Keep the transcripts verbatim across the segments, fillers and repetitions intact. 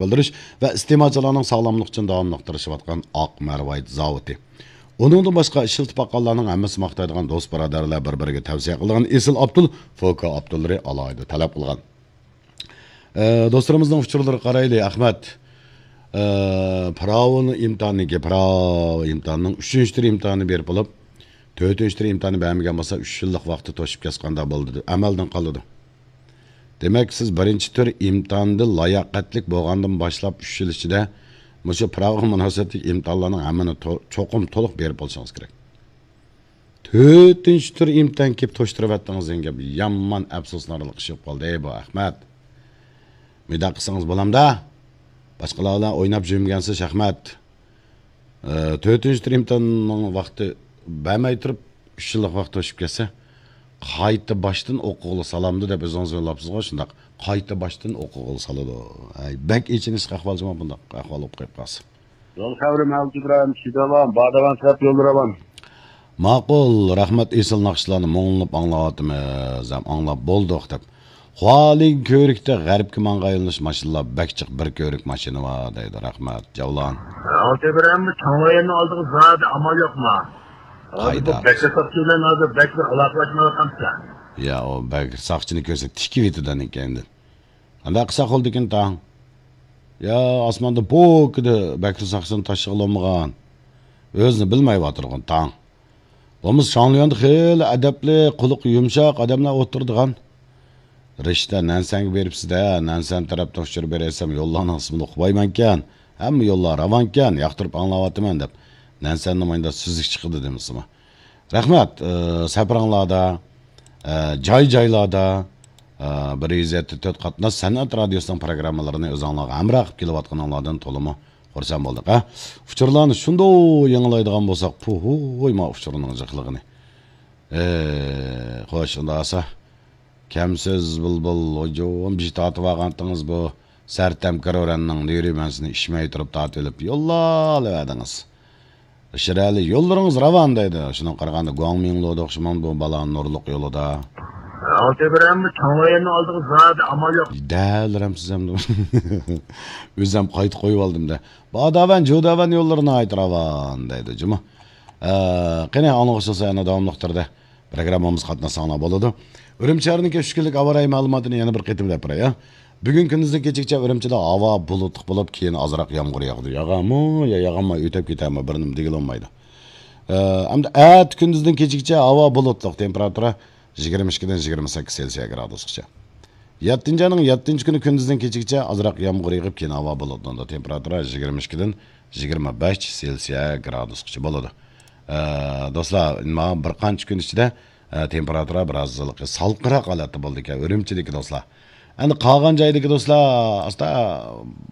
بىلدۈرۈش ۋە ئىستېمالچىلارنىڭ ساغلاملىقى ئۈچۈن داۋاملىق تىرىشىۋاتقان ئاق مەرۋايىت زاۋۇتى. ئۇنىڭدىن باشقا، ئىشلىتىپ باققانلارنىڭ ھەممىسى ماختايدىغان دوست بۇرادەرلەر بىر-بىرىگە تەۋسىيە قىلىدىغان ئېسىل ئاپتول فوكا ئاپتوللىرى ئالاھىدە تەلەپ قىلغان. ئە، دوستلىرىمىزنىڭ ئۇچۇرلىرىغا قارايلى، ئەخمەت. ئە، پىراۋىنىڭ ئىمتىھانىنىڭكى، پىراۋا ئىمتىھانىنىڭ ئۈچىنچى تۈر ئىمتىھانىنى بېرىپ بولۇپ، تۆتىنچى تۈر ئىمتىھانى بەرمىگەن بولسا، ئۈچ يىللىق ۋاقتى توشۇپ كەتسە قانداق بولىدۇ؟ ئەمەلدىن قالىدۇ. دېمەك، سىز بىرىنچى تۈر ئىمتىھاندا لاياقەتلىك بولغاندىن باشلاپ ئۈچ يىل ئىچىدە مۇشۇ پىراۋىغا مۇناسىۋەتلىك ئىمتىھانلارنىڭ ھەممىنى تو-، چوقۇم تولۇق بېرىپ بولۇشىڭىز كېرەك. تۆتىنچى تۈر ئىمتىھان كېلىپ توشتۇرۇۋەتتىڭىز دېگەن گەپ. يامان ئەپسۇسلىنارلىق ئىش بولۇپ قالدى بۇ، ئەخمەت. مۇنداق قىلسىڭىز بولامدا؟ باشقىلار بىلەن ئويناپ يۈرمىگەنسىز، ئەخمەت. ئە، تۆتىنچى تۈر ئىمتىھاننىڭ ۋاقتى بەرمەي تۇرۇپ، ئۈچ يىللىق ۋاقىت توشۇپ كەتسە، قايتا باشتىن ئوقۇغىلى سالامدۇ دەپ ئۆزىڭىز يوللاپسىزغۇ، شۇنداق. قايتا باشتىن ئوقۇغىلى سالىدۇ. ھەي، بەك ئېچىنىشلىق ئەھۋال جۇمۇ، بۇنداق ئەھۋال بولۇپ قېلىپ قالسا. يول خەۋىرى مەۋجۇت ئىبراھىم، شىداۋان، باداۋان تەرەپ يوللىرى ئاۋان. ماقۇل، رەھمەت، ئېسىل ناخشىلارنى مۇڭلىنىپ ئاڭلاۋاتىمىز، ھەم ئاڭلاپ بولدۇق دەپ. خۇالىڭ كۆۋرۈكتە غەربكە ماڭغان يۆنىلىش ماشىنىلار بەك جىق، بىر كۆۋرۈك ماشىنا بار دەيدۇ. رەھمەت، جەۋلان. ئالتە بىر ئەمدى چاڭلايەننىڭ ئالدىغا زادى ئامال يوقما؟ ھازىر بۇ قايدا؟ بەكرى ساقچى بىلەن ھازىر بەك بىر ئالاقىلەشمەيۋاتامسىلەر؟ يا، ئۇ بەكرى ساقچىنى كۆرسە تىكىۋېتىدۇ ئەنىكەندىن. قانداق قىلساق بولىدىكىن تاڭ؟ يا، ئاسماندا پوكىدە بەكرى ساقچىنى تاشلىغىلى بولمىغان. ئۆزىنى بىلمەيۋاتىدىغان تاڭ. بولمىسا شاڭليۈەندە خېلى ئەدەپلىك، قۇلىقى يۇمشاق ئادەملەر ئولتۇرىدىغان. رىشتە، نەنسەنگە بېرىپسىز-دە، نەنسەن تەرەپتىن ئۇچۇر بېرەيسەم، يوللارنىڭ ئىسمىنى ئۇقمايمەنكەن، ھەممە يوللار راۋانكەن، ياقتۇرۇپ ئاڭلاۋاتىمەن دەپ، نەنسەننى مايدا سۈزۈك چىقىدۇ دېمىسىمۇ. رەھمەت، ئى، سەپىرىڭلاردا، ئى، جاي-جايلاردا، ئى، بىر يۈز يەتتە تۆت قاتناش سەنئەت رادىيوسىنىڭ پروگراممىلىرىنى ئۆزۈڭلارغا ھەمراھ قىلىپ كېلىۋاتقىنىڭلاردىن تولىمۇ خۇرسەن بولدۇق، ھە. ئۇچۇرلارنى شۇنداق يېڭىلايدىغان بولساق، پۇھۇي، ما ئۇچۇرنىڭ جىقلىقىنى. ئى، خوش، ئۇنداق بولسا، كەمسىز بۇلبۇل، ھۇجۇم بېشى تارتىۋالغانتىڭىز بۇ سەرتەم كىرورەننىڭ نېرى مەنسىنى ئىچمەي تۇرۇپ تارتىۋېلىپ يوللاۋەردىڭىز. شىرئەلى، يوللىرىڭىز راۋان دەيدۇ. شۇنىڭغا قارىغاندا گۇاڭمىڭلۇدا ئوخشىمامدۇ بۇ بالا نۇرلۇق يولىدا. ئالتە بىر ئەمدى چاڭلايەننىڭ ئالدىغا زادى ئامال يوق. دەلرەمسىز ئەمدى. ئۆزۈم قايتا قويۇۋالدىم-دە. باداۋەن، جۇداۋەن يوللىرى ناھايىتى راۋان دەيدۇ جۇمۇ. ئە، قېنى، ئاڭلىغۇچىلار يەنە داۋاملىق تۈردە پروگراممىمىزغا قاتناشساڭلار بولىدۇ. ئۈرۈمچى شەھىرىنىڭكى ئۈچ كۈنلۈك ھاۋا رايى مەلۇماتىنى يەنە بىر قېتىم دەپ بېرەي، يا. بۈگۈن كۈندۈزدىن كېچىگىچە ئۈرۈمچىدە ھاۋا بۇلۇتلۇق بولۇپ، كېيىن ئازراق يامغۇر ياغىدۇ. ياغامۇ يا ياغماي ئۆتۈپ كېتەرمۇ، بىر نېمە دېگىلى بولمايدۇ. ئە، ئەمدى ئەتە كۈندۈزدىن كېچىگىچە ھاۋا بۇلۇتلۇق، تېمپېراتۇرا يىگىرمە ئىككىدىن يىگىرمە سەككىز سېلسىيە گرادۇسقىچە. يەتتىنچى ئاينىڭ يەتتىنچى كۈنى كۈندۈزدىن كېچىگىچە ئازراق يامغۇر يېغىپ، كېيىن ھاۋا بۇلۇتلىنىدۇ. تېمپېراتۇرا يىگىرمە ئىككىدىن يىگىرمە بەش سېلسىيە گرادۇسقىچە بولىدۇ. ئە، دوستلار، مانا بىر قانچە كۈن ئىچىدە، ئە، تېمپېراتۇرا بىراز سالقىنراق ھالەتتە بولىدىكەن، ئۈرۈمچىدىكى دوستلار. ئەمدى قالغان جايدىكى دوستلار، ئاستا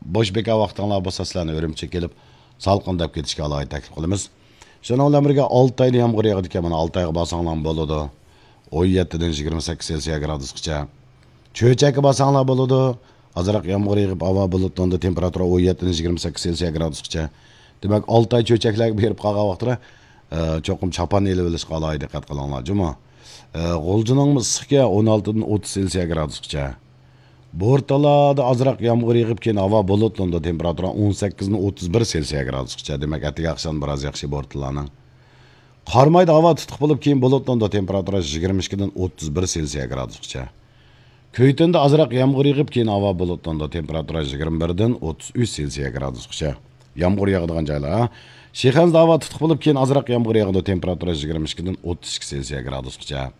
بوش بىكار ۋاقتىڭلار بولسا، سىلەرنى ئۈرۈمچىگە كېلىپ، سالقىنداپ كېتىشكە ئالاھىدە تەكلىپ قىلىمىز. شۇنىڭ بىلەن بىرگە، ئالتايدا يامغۇر ياغىدىكەن، مانا ئالتايغا بارساڭلارمۇ بولىدۇ. ئون يەتتىدىن يىگىرمە سەككىز سېلسىيە گرادۇسقىچە. چۆچەككە بارساڭلار بولىدۇ. ئازراق يامغۇر يېغىپ، ھاۋا بۇلۇتلىنىدۇ، تېمپېراتۇرا ئون يەتتىدىن يىگىرمە سەككىز سېلسىيە گرادۇسقىچە. دېمەك، ئالتاي، چۆچەكلەرگە بېرىپ قالغان ۋاقىتلار، ئە، چوقۇم چاپان ئېلىۋېلىشقا ئالاھىدە دىققەت قىلىڭلار جۇمۇ. ئە، غۇلجىنىڭمۇ ئىسسىقكەن، ئون ئالتىدىن ئوتتۇز سېلسىيە گرادۇسقىچە. بورتالادا ئازراق يامغۇر يېغىپ، كېيىن ھاۋا بۇلۇتلىنىدۇ، تېمپېراتۇرا ئون سەككىزدىن ئوتتۇز بىر سېلسىيە گرادۇسقىچە. دېمەك، ئەتىگەن ئاخشام بىراز ياخشى بورتالانىڭ. قارامايدا ھاۋا تۇتۇق بولۇپ، كېيىن بۇلۇتلىنىدۇ، تېمپېراتۇرا يىگىرمە ئىككىدىن ئوتتۇز بىر سېلسىيە گرادۇسقىچە. كۈيتۈندە ئازراق يامغۇر يېغىپ، كېيىن ھاۋا بۇلۇتلىنىدۇ، تېمپېراتۇرا يىگىرمە بىردىن ئوتتۇز ئۈچ سېلسىيە گرادۇسقىچە. يامغۇر ياغىدىغان جايلار، ھە. شىخەنزىدە ھاۋا تۇتۇق بولۇپ، كېيىن ئازراق يامغۇر ياغىدۇ، تېمپېراتۇرا يىگىرمە ئىككىدىن ئوتتۇز ئىككى سېلسىيە گرادۇسقىچە.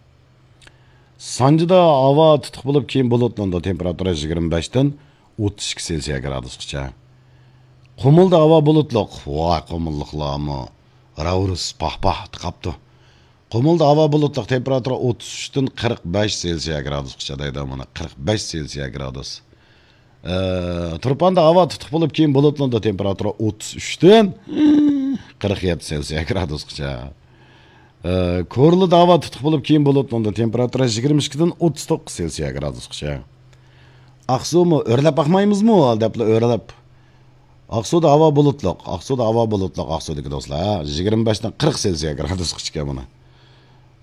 سانجىدا ھاۋا تۇتۇق بولۇپ، كېيىن بۇلۇتلىنىدۇ، تېمپېراتۇرا يىگىرمە بەشتىن ئوتتۇز ئىككى سېلسىيە گرادۇسقىچە. قۇمۇلدا ھاۋا بۇلۇتلۇق. ۋاي، قۇمۇللۇقلارمۇ راۋرۇس پاھ-پاھ قاپتۇ. قۇمۇلدا ھاۋا بۇلۇتلۇق، تېمپېراتۇرا ئوتتۇز ئۈچتىن قىرىق بەش سېلسىيە گرادۇسقىچە دەيدۇ مانا، قىرىق بەش سېلسىيە گرادۇس. ئە، تۇرپاندا ھاۋا تۇتۇق بولۇپ، كېيىن بۇلۇتلىنىدۇ، تېمپېراتۇرا ئوتتۇز ئۈچتىن قىرىق يەتتە سېلسىيە گرادۇسقىچە. ئە، كورلىدا ھاۋا تۇتۇق بولۇپ، كېيىن بۇلۇتلىنىدۇ، تېمپېراتۇرا يىگىرمە ئىككىدىن ئوتتۇز توققۇز سېلسىيە گرادۇسقىچە. ئاقسۇمۇ ئۆرلەپ باقمايمىزمۇ دەپلا ئۆرلەپ. ئاقسۇدا ھاۋا بۇلۇتلۇق. ئاقسۇدا ھاۋا بۇلۇتلۇق، ئاقسۇدىكى دوستلار. يىگىرمە بەشتىن قىرىق سېلسىيە گرادۇسقىچە ئىكەن مانا.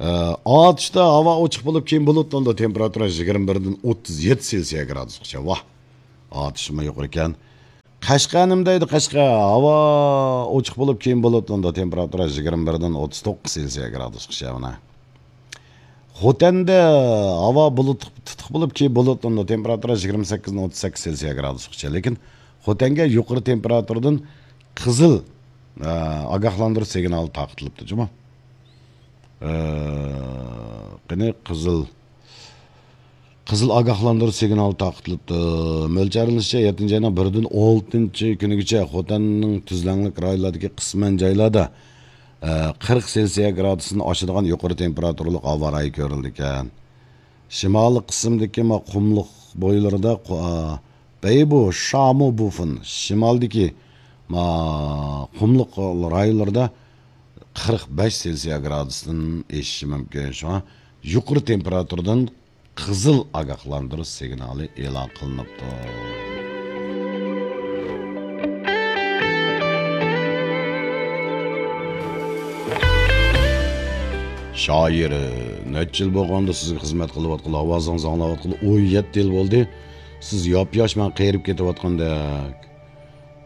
ئە، ئاتۇشتا ھاۋا ئوچۇق بولۇپ، كېيىن بۇلۇتلىنىدۇ. تېمپېراتۇرا يىگىرمە بىردىن ئوتتۇز يەتتە سېلسىيە گرادۇسقىچە. ۋاھ! ئاتۇشمۇ يۇقىرى ئىكەن. قەشقەر نېمە دەيدۇ؟ قەشقەر ھاۋا ئوچۇق بولۇپ، كېيىن بۇلۇتلىنىدۇ. تېمپېراتۇرا يىگىرمە بىردىن ئوتتۇز توققۇز سېلسىيە گرادۇسقىچە مانا. خوتەندە ھاۋا بۇلۇت، تۇتۇق بولۇپ، كېيىن بۇلۇتلىنىدۇ. تېمپېراتۇرا يىگىرمە سەككىزدىن ئوتتۇز سەككىز سېلسىيە گرادۇسقىچە. لېكىن خوتەنگە يۇقىرى تېمپېراتۇرىدىن قىزىل، ئە، ئاگاھلاندۇرۇش سىگنالى تارقىتىلىپتۇ جۇمۇ. ئە، قېنى قىزىل، قىزىل ئاگاھلاندۇرۇش سىگنالى تارقىتىلىپتۇ. مۆلچەرلىنىشىچە، يەتتىنچى ئاينىڭ بىرىدىن ئالتىنچى كۈنىگىچە خوتەننىڭ تۈزلەڭلىك رايونلاردىكى قىسمەن جايلاردا، ئە، قىرىق سېلسىيە گرادۇستىن ئاشىدىغان يۇقىرى تېمپېراتۇرىلىق ھاۋا رايى كۆرۈلىدىكەن. شىمالىي قىسىمدىكى ما قۇملۇق بويلىرىدا قۇ-، ئا، بەيبۇ، شامۇ، بۇفېن، شىمالدىكى ما قۇملۇق رايونلىرىدا قىرىق بەش سېلسىيە گرادۇستىن ئېشىشى مۇمكىن. شۇڭا يۇقىرى تېمپېراتۇرىدىن قىزىل ئاگاھلاندۇرۇش سىگنالى ئېلان قىلىنىپتۇ. شائىر، نەچچە يىل بولغاندا سىزگە خىزمەت قىلىۋاتقىلى، ئاۋازىڭىزنى ئاڭلاۋاتقىلى ئون يەتتە يىل بولدى. سىز ياپياش، مەن قېرىپ كېتىۋاتقاندەك.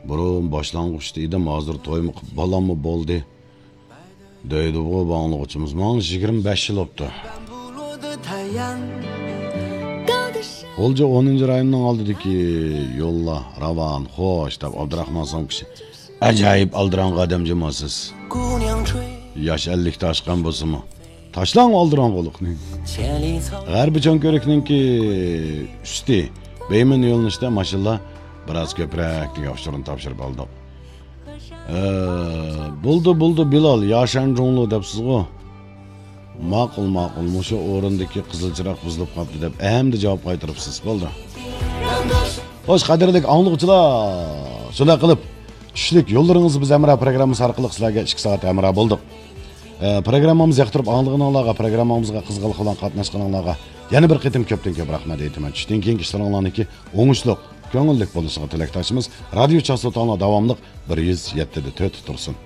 بۇرۇن باشلانغۇچتا ئىدىم، ھازىر تويمۇ قىلىپ، بالاممۇ بولدى. دەيدىغۇ بۇ ئاڭلىغۇچىمىز. ماڭا يىگىرمە بەش يىل بوپتۇ. غۇلجا ئونىنچى رايوننىڭ ئالدىدىكى يوللار راۋان، خوش، دەپ ئابدۇراخمان سوڭ كىشى. ئاجايىپ ئالدىراڭغۇ ئادەم جۇمۇ سىز. ياش ئەللىكتە ئاشقان بولسىمۇ. تاشلاڭ ئالدىراڭغۇلۇقنى. غەربىي چوڭ كۆرۈكنىڭكى ئۈستى بەيمەن يۆنىلىشتە ماشىنىلار بىراز كۆپرەكلىكى ئۇچۇرىنى تاپشۇرۇپ ئالدۇق. ئە، بولدى، بولدى، بىلال، ياشان جۇڭلۇ دەپسىزغۇ. ماقۇل، ماقۇل، مۇشۇ ئورۇندىكى قىزىل چىراغ بۇزۇلۇپ قاپتۇ دەپ ئەمدى جاۋاب قايتۇرۇپسىز. بولدى. خوش، قەدىرلىك ئاڭلىغۇچىلار، شۇنداق قىلىپ، چۈشلۈك يوللىرىڭىز بىز ھەمراھ پروگراممىسى ئارقىلىق سىلەرگە ئىككى سائەت ھەمراھ بولدۇق. ئە، پروگراممىمىزنى ياقتۇرۇپ ئاڭلىغىنىڭلارغا، پروگراممىمىزغا قىزغىنلىق بىلەن قاتناشقىنىڭلارغا يەنە بىر قېتىم كۆپتىن كۆپ رەھمەت ئېيتىمەن. چۈشتىن كېيىنكى ئىشلىرىڭلارنىڭكى ئوڭۇشلۇق، كۆڭۈللۈك بولۇشىغا تىلەكداشمىز. رادىيو چاستوتاڭلار داۋاملىق بىر يۈز يەتتە دە تۆت تۇرسۇن.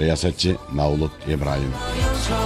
رىياسەتچى مەۋلۇت ئىبراھىم.